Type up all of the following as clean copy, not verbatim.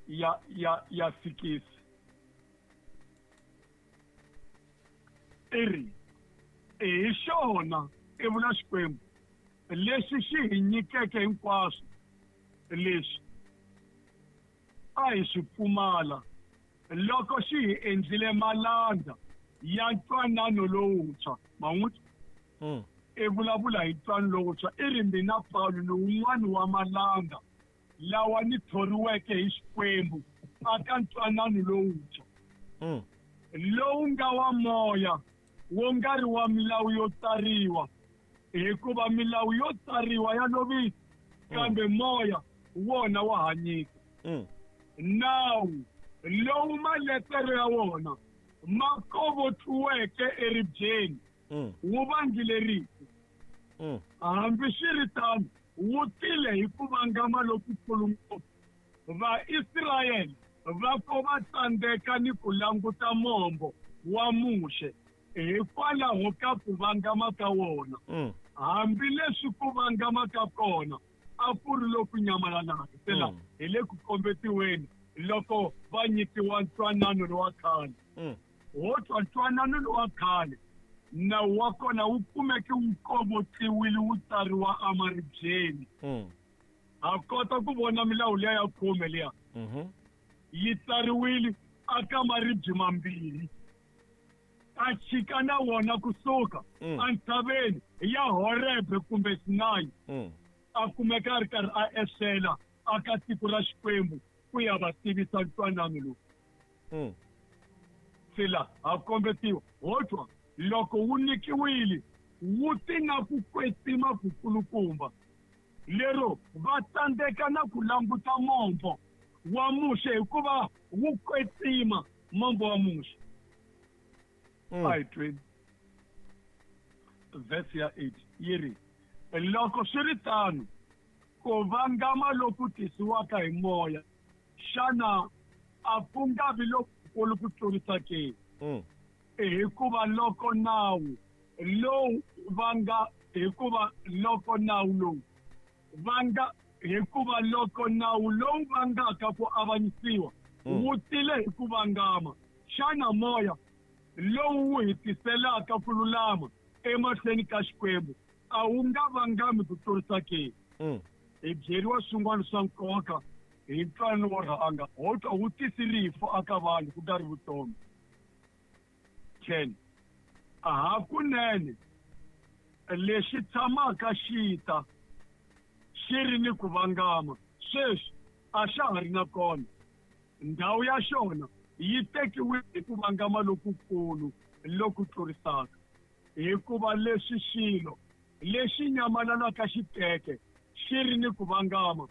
ya 6 i ri hi xona i vula Xikwembu lexi xi hi nyikeke hinkwaswo leswi a hi swi pfumala loko xi hi endlile malandza ya ntwanano lowuntshwa. Man'wutwa i vulavula hi ntwanano lowuntshwa, i ri mina Pawulo ni wun'wana wa malandza lawa ni thoriweke hi Xikwembu aka ntwanano lowuntshwa lowu nga wa moya, wo nga ri wa milawu yo tsariwa, hikuva milawu yo tsariwa ya lovisa, kambe moya wona wa hanyisa. Nawu lowu maletere ya wona ma kovotliweke eribyeni wu vangile rifu. Hambi swi ri tano, wu tile hi ku vangama lokukulu ngopfu. Vaisrayele va ko va tsandzeka ni ku languta mombo wa Muxe hikwalaho ka ku vangama ka wona, hambileswi ku vangama ka kona a ku ri loku nyamalalaka. Se la hi le ku kombetiweni loko va nyikiwa ntwanano lowa khale. Ho twa ntwanano lowa khale, nawu wa kona wu kumeke wu kovotliwile wu tsariwa emaribyeni. Ha kota ku vona milawu liya ya 10 liya yi tsariwile aka maribye mambirhi, a chika na wona kusuka entshaveni ya Horebe kumbe Sinayi, a kumeka a ri karhi a ehlela aka tiko ra Xikwembu ku ya va tivisa ntwanano lowu. Se la ha kombetiwa ho twa loko wu nyikiwile wu ti na ku kwetsima kukulukumba, lero va tsandzeka na ku languta mombo wa Muxe hikuva wu kwetsima mombo wa Muxe. A hi tweni verse ya 8 yi ri, loko swi ri tano, ku vangama loku tisiwaka hi moya xana a ku nga vi lokukulu ku tlurisa ke? Hikuva loko nawu lowu vanga hikuva loko nawu lowu vanga hikuva loko nawu lowu vangaka ku avanyisiwa wu tile hi ku vangama, xana moya lowu wu hi tiselaka ku lulama emahlweni ka Xikwembu a wu nga vangami ku tlurisa ke? Hi byeriwa swin'wana swa nkoka hi ntwanano wo rhanga, ho twa wu tisi rifu aka vanhu ku nga ri vutomi. 10 hakunene lexi tshamaka xi ta xi ri ni ku vangama sweswi a xa ha ri na kona, ndhawu ya xona yi tekiwile hi ku vangama lokukulu loku tlurisaka. Hikuva leswi xilo lexi nyamalalaka xi teke xi ri ni ku vangama,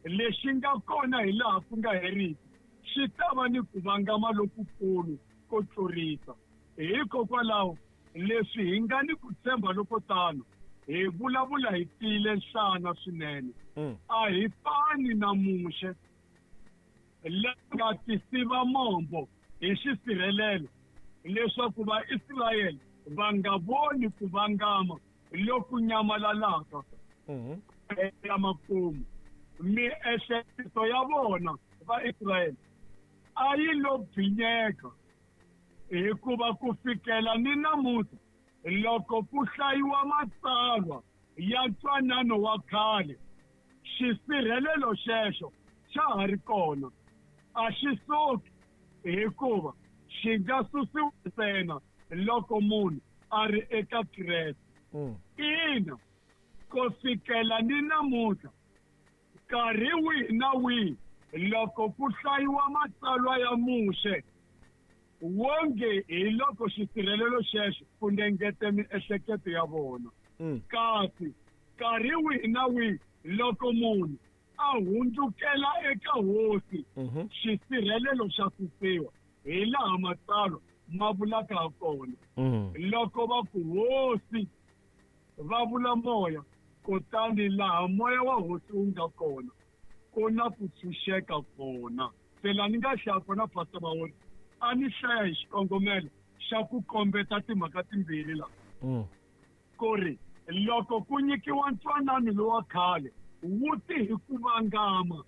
lexi nga kona hi laha ku nga heriki xi ta va ni ku vangama lokukulu ko tlurisa. Hikokwalaho, leswi hi nga ni ku tshemba loko tano, hi vulavula hi tiyile nhlana swinene. A hi fani na Muxe la nga tisiva mombo hi xisirhelelo leswaku Vaisrayele va nga voni ku vangama loku nyamalalaka ya makumu. Miehleketo ya vona Vaisrayele a yi lo bvinyeka, hikuva ku fikela ni namuntlha loko ku hlayiwa matsalwa ya ntwanano wa khale, xisirhelelo xexo xa ha ri kona, a xi suki, hikuva xi nga susiwa ntsena loko munhu a ri eka Kreste. Ina, ku fikela ni namuntlha, nkarhi wihi na wihi loko ku hlayiwa matsalwa ya Muxe, wonge hi loko xisirhelelo xexo funengete miehleketo ya vona. Kasi nkarhi wihi na wihi loko munhu a hundzukela eka Hosi, xisirhelelo xa susiwa, hi laha matsalwa ma vulaka ha kona. Loko va ku Hosi, va vula moya, kutani laha moya wa Hosi wu nga kona, ku na ku tshunxeka kona. Se laha ni nga hlaya kona, Pastor Mawoni, a ni hlaya hi xikongomelo xa ku kombeta timhaka timbirhi la. Ku ri loko ku nyikiwa ntwanano lowa khale, wu ti hi ku vangama.